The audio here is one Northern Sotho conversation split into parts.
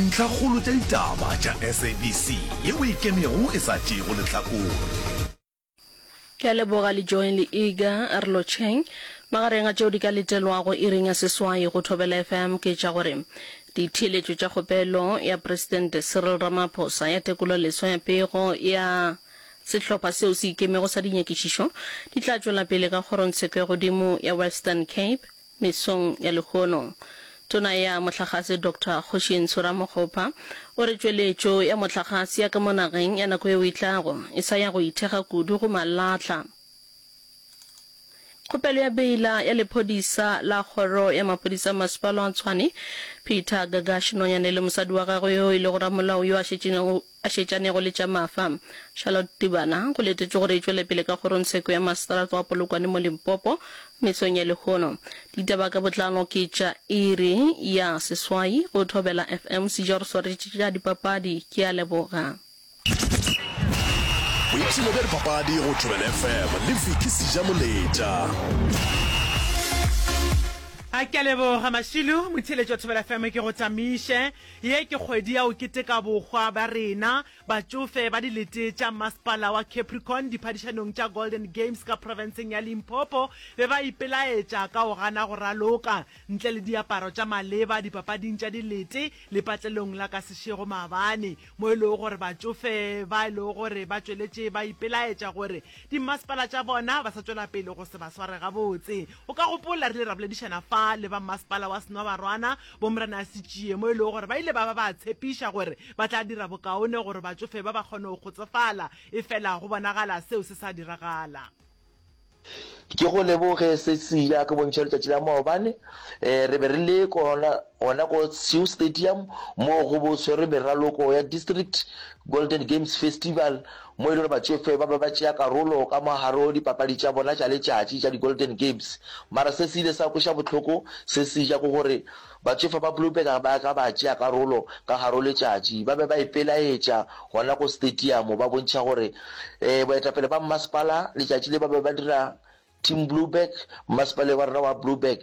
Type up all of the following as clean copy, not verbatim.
Ntlhakgolo tša ditaba tša SABC yeo e ikemego e sa tšeego lehlakore. Ke a leboga le Join le Iga a re lotšheng. Magareng a tšeo di ka letelwago iring ya seswai go Thobela FM ke tša gore ditheeletšo tša kgopelo ya Presidente Cyril Ramaphosa ya tekololeswa ya pego ya sehlopha seo se ikemego sa dinyakišišo di tla tšwela pele ka kgorongtsheko ya godimo ya Western Cape Mesong ya lehono, Tona ya Mohlagase Doctor Kgoši-Ntsho Ramokgopa o re tšweletšo ya mohlagase ya ka mo nageng ya nako yeo e tlago e sa ya go ithekga kudu go malahla. Kgopelo ya beila ya lephodisa la Kgoro ya Maphodisa a Masepala wa Tshwane, Peter Gagash Nonyane le mosadi wa gagwe yo e lego ramolao yo a šetšenego a šetšanego le tša mafa. Charlotte Tibana, go letetšwe gore e tšwele pele ka kgorongtsheko ya maseterata wa Polokwane mo Limpopo mesong ya lehono. Ditaba ka botlalo ke tša iri ya seswai go Thobela FM. Seja o re swaretše tša dipapadi. Ke a leboga. Boipshino bja dipapadi go Thobela FM le Vicky Sejamoletša. A ke a leboga Mašilu, motheeletši wa Thobela FM ke go tamiše. Ye ke kgwedi ya go keteka bohwa bja rena, batšofe ba dilete tša Masepala wa Capricorn diphadišanong tša Golden Games ka profenseng ya Limpopo be ba ipelaetša ka go gana go raloka ntle le diaparo tša maleba dipapading tša dilete lepatlelong la ka Seshego maabane mo e lego gore batšofe ba e lego gore ba tšweletše ba ipelaetša gore dimmasepala tša bona ba sa tšwela pele go se ba sware gabotse. O ka gopola re ile ra boledišana fa le ba mmasepala wa Senwabarwana Bomorena Setšie mo e lego gore ba ile ba ba ba tshepiša gore ba tla dira bokaone gore batšofe ba ba kgone go kgotsofala, efela go bonagala seo se sa diragala. Ke go leboge Cecilia ke bontšha letšatši la maobane re be re le gona gona ko Sioux Stadium moo go bo tshwerwe meraloko ya District Golden Games Festival mo e le gore batšofe ba be ba tšea karolo ka mo gare go dipapadi tša bona tša letšatši tša di-Golden Games. Mara se se ile sa kweša bohloko se se ja ke gore batšofe ba Blouberg ga ba ka ba tšea karolo ka gare go letšatši. Ba be ba ipelaetša gona ko stadium ba bontšha gore boetapele ba mmasepala letšatši le ba be ba dira Team Blouberg, mmasepaleng wa rena wa Blouberg,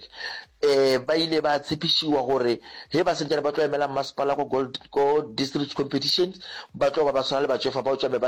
ba ile ba tshepišiwa gore ge ba sentšane ba tlo emela mmasepala ko Gold, ko District Competitions, ba tlo ba ba swana le batšofa bao tšame ba.